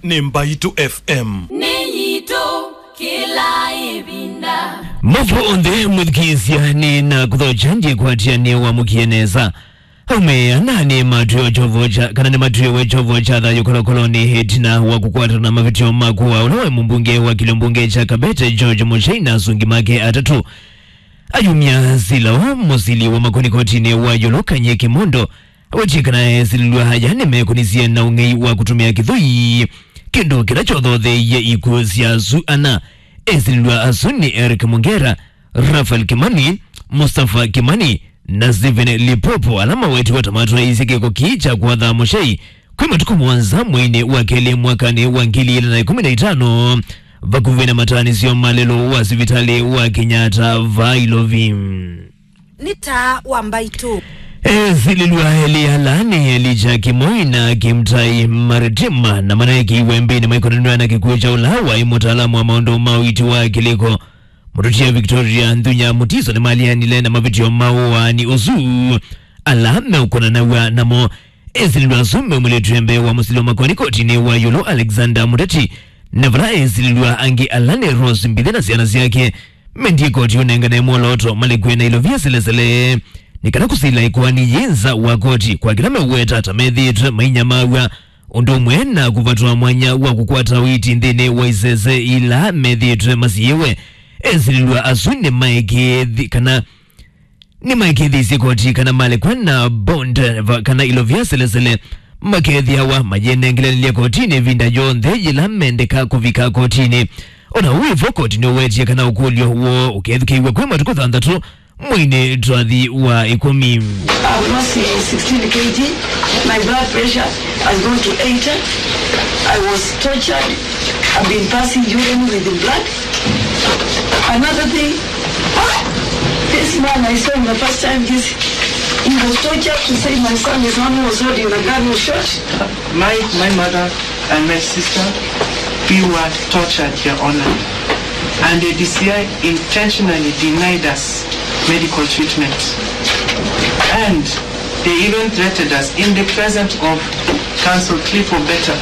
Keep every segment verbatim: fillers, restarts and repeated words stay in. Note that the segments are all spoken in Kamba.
nĩ Mbaitũ F M. Nĩ yitũ kĩla ĩvinda. Mavo onthe mũthikĩĩsya nĩ na kũthokya ndikwatya nĩ wamũkie nesa. Aume ana nĩ matwĩe kyovo kya, kana nĩ matwĩwe kyovo kya thayũ kolokolonĩ ĩtina wa kũkwatana na mavĩtyo ma kũa ũla waĩ mũmbunge wa kĩlio mbunge kya Kabete George Muchai na asungi make atatũ. Ayumya sila wa mũsili wa makoni kotinĩ wa ĩũlũ Kanye Kimondo, awetie kana esilĩlw'a aya nĩmekũnisye na ũng'ei wa kũtũmĩa kĩthũi, kĩndũ kĩla kyothotheie ikw'ũ sya asu ana. Esilĩlw'a asu nĩ Eric Mungera, Raphael Kimani, Mustafa Kimani, na Stephen Lipopo, ala mawetiwe ta matwaĩisye kĩko kĩĩ kya kwatha Muchai kwĩ matukũ mũonza mweinĩ wa kelĩ mwakanĩ wa ngili ilĩ na ĩkũmi na itano, vakuvĩ na mataanĩsyo ma lelũ wa sivitalĩ wa Kenyatta vaa Ilovi. Nĩ taa wa Mbaitũ. Esilĩlw'a elĩ ala nĩ Elijah Kimoi na Kimtai Maritima, na manaekiwe mbĩnĩ maikonanw'a na kĩkw'ũ kya ũla waĩ mũtaalamu wa maũndũ ma ũiiti wa kĩlĩko, Mũtũtia Victoria Nthunya Mutiso, nĩmaleanile na mavĩtyo ma ũaani ũsu. Ala meũkonanaw'a namo, esilĩlw'a asu meumĩlĩtw'e mbee wa mũsili wa makoani kotinĩ wa ĩũlũ Alexander Muteti, na vala esilĩlw'a angĩ ala nĩ Rose Mbithe na syana syake mendie koti ũnengane mwolooto malekwe na ilovia selesele nĩ kana kũsila ĩkoani yĩ nza wa koti kwa kĩla meũweta ta methĩĩtwe mainyamaw'a, ũndũ ũmwe na kũvatwa mwanya wa kũkwata ũiiti nthĩnĩ wa isese ila methĩĩtwe masiĩwe. Esilĩlw'a asu nĩmaĩkĩĩthi-, kana nĩmaĩkĩĩthĩisye koti kana malekwa na bond va-, kana ilovia selesele makethĩawa mayĩnengelanĩlya kotinĩ ĩvinda yonthe yĩla mendeka kũvika kotinĩ. O na ũu wĩ vo, koti nĩũwetie kana ũkũlyo woo ũkethukĩĩw'a kwĩ matukũ thanthatũ mweinĩ twathi wa ĩkũmi. I've lost sixteen K G. My blood pressure has gone to eighty. I was tortured. I've been passing urine with the blood. Another thing, this man I saw him the first time, this, he was tortured to say my son is the one who was holding the gun who shot. My, my mother and my sister, we were tortured, Your Honor. And the D C I intentionally denied us medical treatment. And they even threatened us in the presence of counsel Clifford Beta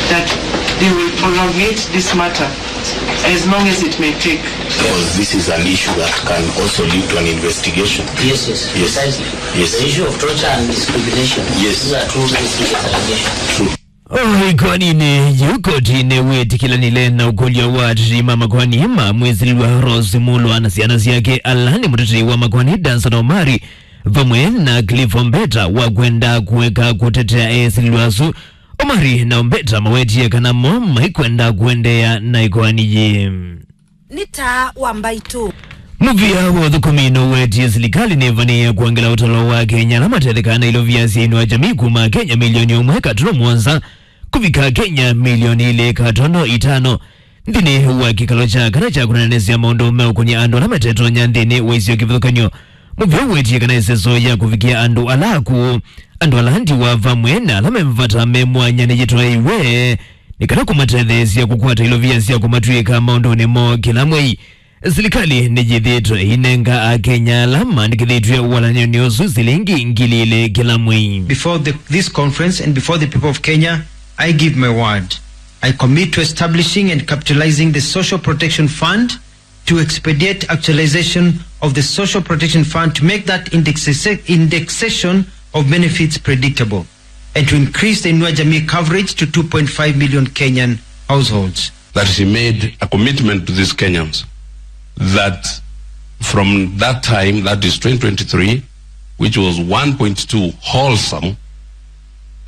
that they will prolongate this matter as long as it may take. Because this is an issue that can also lead to an investigation. Yes, yes, yes, precisely. Yes. The issue of torture and discrimination. Yes. These are two very serious allegations. True. O ĩkoaninĩ yĩu, koti nĩwĩtĩkĩlanile na ũkũlyo wa ateti ma makoani ma mwĩsilĩlwa Rose Mulwa na syana syake, ala nĩ mũtetei wa makoani Danson Omari vamwe na Cliff Ombeta wa kwenda kũeka kũtetea esilĩlwa asu. Omari na Ombeta mawetie kana mo maikwenda kũendeea na ĩkoani yĩĩ. Nĩ taa wa Mbaitũ. Mũvĩa wa ũthũkũmi nũwetie silikalĩ nĩvanĩĩe kũangĩla ũtalo wa Akenya ala matethekaa na ilovia sya Inua Jamii kuma Akenya milioni ũmwe katono mũonza kũvika Akenya milioni ilĩ katono itano nthĩnĩ wa kĩkalo kya kana kya kũneenesya maũndũ meũkũny'a andũ ala matetonya nthĩnĩ wa isio kĩvathũkany'o. Mũvĩa ũwetie kana ĩseso ya kũvikĩa andũ ala akũũ, andũ ala ndiwa vamwe na ala me vata me mwanya nĩyĩtwaĩwe nĩ kana kũmatetheesya kũkwata ilovia sya kũmatw'ĩĩka maũndũnĩ moo kĩla mwei. Silikalĩ nĩyĩthĩĩtwe ĩinenga Akenya ala maandĩkĩthĩtw'e walany'onĩ ũsu silingi ngili ilĩ kĩla mwei. Before the, this conference and before the people of Kenya, I give my word. I commit to establishing and capitalizing the Social Protection Fund to expedite actualization of the Social Protection Fund to make that indexa-, indexation of benefits predictable and to increase the Inua Jamii coverage to two point five million Kenyan households. That he made a commitment to these Kenyans that from that time, that is twenty twenty-three, which was one point two wholesome,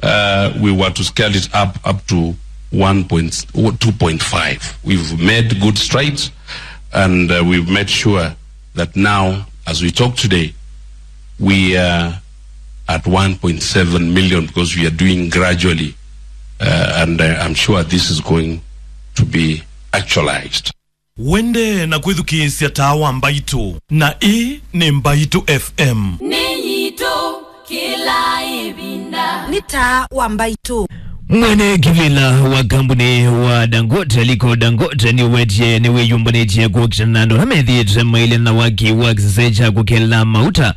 uh, we were to scale it up, up to one point, two point five. We've made good strides, and, uh, we've made sure that now, as we talk today, we are at one point seven million because we are doing gradually, uh, and, uh, I'm sure this is going to be actualized. Wende na kwĩthukĩĩsya taa wa Mbaitũ, na ĩĩ nĩ Mbaitũ F M. Nĩ yitũ kĩla ĩvinda. Nĩ taa wa Mbaitũ. Mwene kĩvĩla wa kambuni wa Dangote, Aliko Dangote, nĩwetie nĩwĩyũmbanĩtye kũkitana na andũ ala methĩĩtwe mailĩ na waki wa kĩsese kya kũkela mauta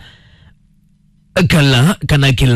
kala kana kĩla